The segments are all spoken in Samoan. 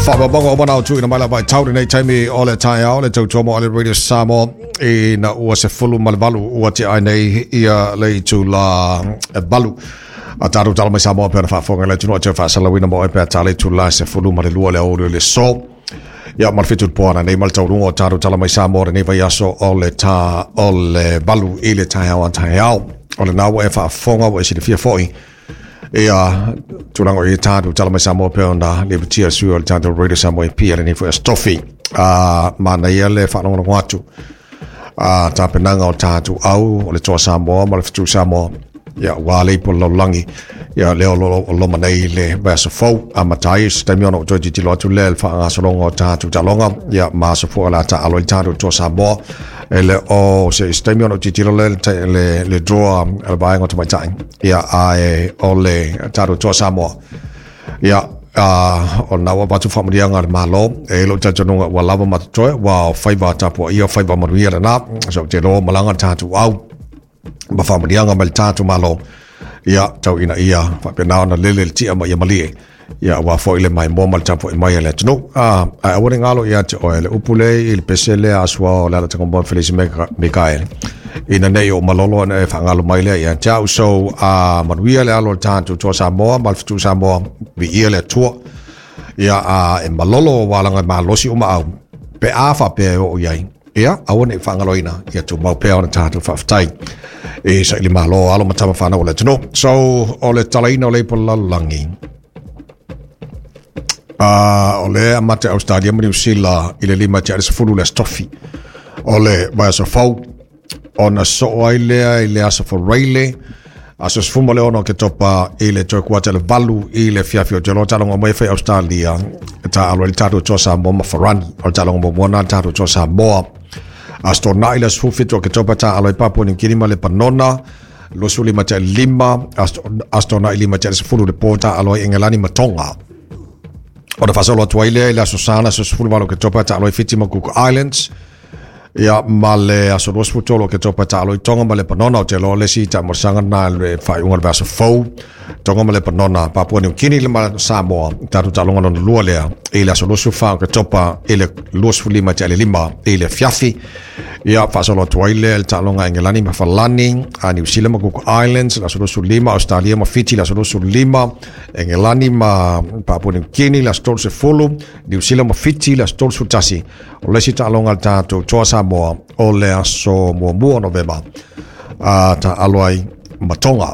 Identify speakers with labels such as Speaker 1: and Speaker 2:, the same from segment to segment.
Speaker 1: Faamaumauga uma na o tuuina mai lava i tau lenei taimi o le taeao le tautua mo ale Radio Samoa ina ua 18 ua tea ai nei ia le itula e 8. A tatou tala mai Samoa pe ona faafofoga le atunuu tau faasalauina mo e pe a tala itula 12 le aoauli o le aso. Ia ma le 7 po ana nei ma le taualuga o tatou tala mai Samoa lenei vaiaso o le ta o le 8 i le taeao a taeao. O lena ua e faafofoga ua e silafia foi ia tulaga o i tatou tala mai Samoa pe ona lipotia sui o le tatou Radio Samoa EP a lenei foi aso tofi. A manaia le faalogologo atu a tapenaga o tatou au o le Toa Samoa ma le Fetu Samoa ia ua le ipo le lalolagi ia lea o lo o loma nei le vaiaso fou amata ai se taimi ona ou toe tilotilo atu lea i le faagasologa o tatou taaloga ia ma aso foi o le a taaalo ai tatou Toa Samoa e le o se se taimi ona ou tilotilo lea le le, le draw a le vaega o tamaitai ia ae o le tatou Toa Samoa ia o lena ua avatu faamanuiaga a le Malo e lou talitonuga ua lava ma totoe ua o faiva tapuaia o faiva manuia lena so ou te iloa malaga le tatou au ma faamanuiaga mai le tatou Malo ia tau ina ia faapena ona lele le tia ma ia malie ia aua foi le maimoa ma le tapuai mai a le atunuu. Ae aua ne i galo ia te oe le upu le i le pese lea a sua o le ala tagamoa Felisi Mikaele ina nei o malolo ona e faagalo mai lea ia te au. So manuia le alo o le tatou Toa Samoa ma le Fetu Samoa, viia le Atua ia e malolo ua laga e malosi uma au pe a faapea e oo i ai. Ia, aua ne i faagaloina, ia tumau pea ona tatou faafetai e saili malo alo ma tama whanau o le atunuu. So, o le talaina o le ipo lalolagi. O le amata Australia ma Niu Sila i le 5 tea i le 10 le aso tofi o le vaiaso fou. Ona soo ai lea i le aso Faraile, aso 16 o Oketopa i le toe kuata le 8 i le afiafi o te loa taaloga mai e fai Australia e taaalo ai le tatou Toa Samoa ma Farani. O le taaloga muamua lena a le tatou Toa Samoa. Aso Toonai le aso 17 o Oketopa taaalo ai Papua New Guinea ma Lepanona. 25 tea i le 5, aso Toonai 5 tea i le 10 le po taaalo ai Engelani ma Tonga. Ona faasolo atu ai lea i le aso Sa, le aso 18 o Oketopa taaalo ai Fiti ma Cook Islands. Ia, ma le aso 23 o Oketopa taaalo ai Tonga ma Lepanona. Ou te iloa le isi taamolosaga lena i le faaiuga o le vaiaso fou. Tonga ma Lepanona, Papua New Guinea ma Samoa. Tatou taaloga lona lua lea i le aso 24 o Oketopa i le 25 tea i le 5 i le afiafi. Ia, faasolo atu ai lea i le taaloga a Engelani ma Falani, a Niu Sila ma Cook Islands, le aso 25, Australia ma Fiti, le aso 25, Engelani ma Papua New Guinea, le aso 30, Niu Sila ma Fiti, le aso 31. O le isi taaloga a le tatou Toa Samoa o le aso 1 o Novema, a taaalo ai ma Tonga.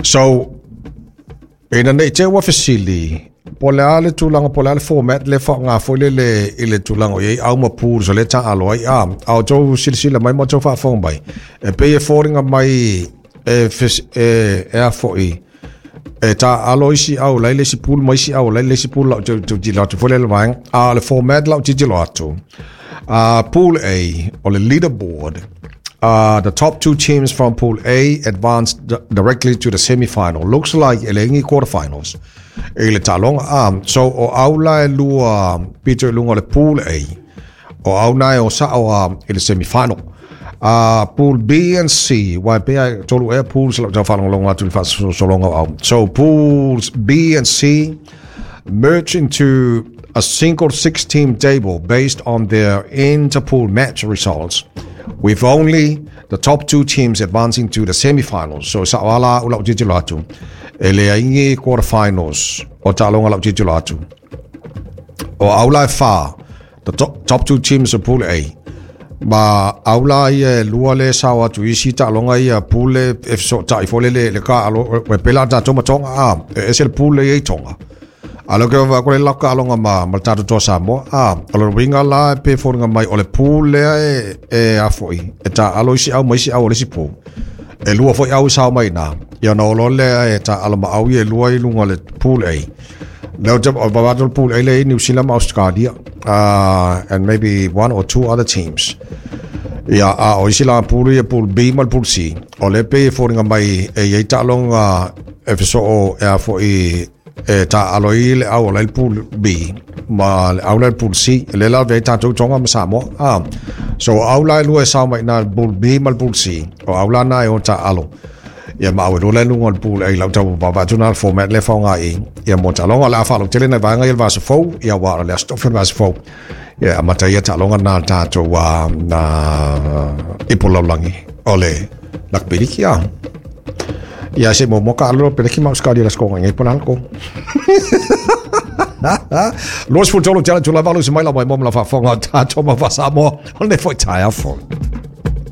Speaker 1: So, ina nei te ua fesili, po o le a le tulaga, po o le a le format le faaaoga foi lele i le tulaga o i ai au ma pools o lea taaalo ai, a outou silasila mai ma outou faafofoga mai, e pei e foliga mai e, e, e a foi, e taaalo isi au la i le isi pool ma isi au la i le isi pool lau tilotilo atu foi lele vaega. A o le format lau tilotilo atu, Pool A, o le leaderboard, the top two teams from Pool A advance directly to the semi-final. Looks like e leai ni quarterfinals i le taaloga. So o au la e lua pito i luga o le Pool A, o au na e o sao i le semi-final. Pool B and C, wa e pea e tolu ea pools lau tau faalogologo atu i le faasolosologa o au. So pools B and C merge into a single 6-team table based on their interpool match results, with only the top two teams advancing to the semi-finals. So sao ala au lau tilotilo atu, e leai ni quarterfinals o taaloga lau tilotilo atu. O au la e whā, the top two teams of Pool A, ma au la ia e lua le sao atu isi taaloga ia pool e fesootai foi lele le ka alo e pela tatou ma Tonga a e ese le pool le i Tonga. A leo ke wa ko le laka aloga ma le tatou Toa Samoa a o le uiga la e pe foliga mai o le pool lea e e a foi e taaalo isi au ma isi au o le isi pool. E lua foi au i sao mai i na. Ia ona o loa lea e taaalo ma au ia e lua i luga o le Pool A. Leo te o vaavaai atu le Pool A lea i New Zealand ma Australia and maybe one or two other teams. Ia, a o isi la pool ia Pool B ma le Pool C. O lea pei e foliga mai e i ai taaloga e fesoo e a foi e taaalo ai le au o la i le Pool B ma le au la i le Pool C. Lea la ave ai tatou Tonga ma Samoa. So o au la e lua e sao mai i na le Pool B ma le Pool C. O au la na e o taaalo. Ia ma au e lua luga o le pool ai lau tau vaavaai atu na le format lea e faaaoga i ia mo taaloga. O le a faalautele nai vaega ia i le vaiaso fou, ia aua o le Aso Tofi o le vaiaso fou. Ia e amata ai ia taaloga na a le tatou na ipu lalolagi o le Rugby League ia. Ia se i muamua taalo loa peleki ma Ausetalia i le Aso Toonai nei po o le a le tonu. 23 tea le itula e 8 i se maila maimoa ma lau faafofoga o tatou mau faa-Samoa o lenei foi taeao fou.